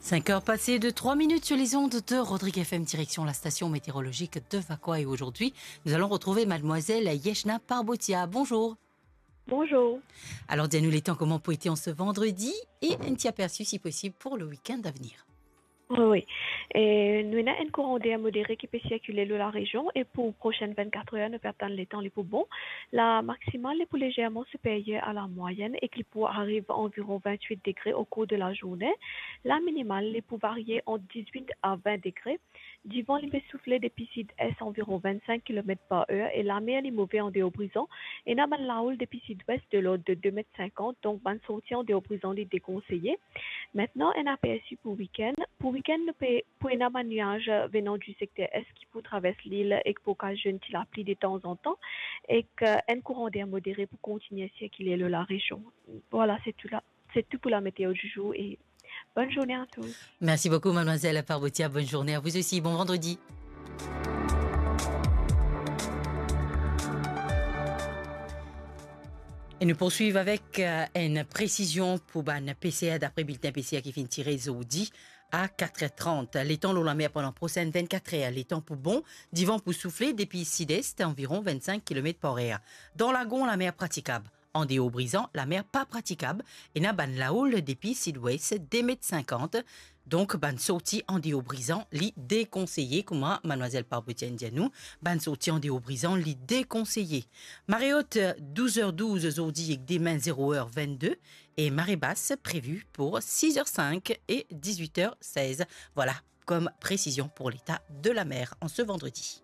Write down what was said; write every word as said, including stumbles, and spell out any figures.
Cinq heures passées de trois minutes sur les ondes de Rodrigue F M, direction la station météorologique de Vacoas. Et aujourd'hui, nous allons retrouver mademoiselle Yeshna Parbotia. Bonjour. Bonjour. Alors, dis-nous les temps, comment pour été en ce vendredi et un petit aperçu, si possible, pour le week-end à venir. Wi, wi. E, nou ena enn kouran der modere ki pe sirkile lor larezion e pou prosenn vennkat er, nou pe atann letan li pou bon. La maksimal, li pou lezerman siperyer a la mwayenn ek li pou ariv anviron vennwit degre o kour de lazourne. La minimal, li pou varie ant dizwit a vin degre. Divan, li pe soufle depi sid-es anviron vennsink kilomet par er e lamer, li move an deor Brizan. Ena bann laoul depi sid-wes de lord de de met sinkant, donk bann sorti an deor Brizan, li dekonseye. Aster, enn apersi pou wikenn. Pou wikenn, nou pe, pou ena bann niaz venan di sekter es ki pou travers lil ek pou okazionn ti lapli detanzantan, ek, eh, enn kouran der modere pou kontigne sirkile lor larezion. Vwala, se tou la, se tou pou la météo du jour e bonne journée à tous. Merci beaucoup, mademoiselle Parbotia. Bonne journée à vous aussi. Bon vendredi. E nou poursuiv avek, eh, enn presizion pou bann peser, dapre bilten peser ki finn tire zordi a kat er trant. Letan lor lamer pandan prosenn vennkat er, letan pou bon, divan pou soufle depi sid-es, anviron vennsink kilomet par er. Dan lagon, lamer pratikab. An deor Brizan, lamer pa pratikab, ena bann laoul depi sid-wes, de met sinkant. Donk, bann sorti an deor Brizan, li dekonseye, kouma madmwazel Parbotia inn dir nou, bann sorti an deor Brizan, li dekonseye. Mare ot, douz er douz zordi ek demin, zero er vennde, e mare bas previ pou sis er sink e dizwit er sez. Vwala, kom presizion pou leta de lamer an se vandredi.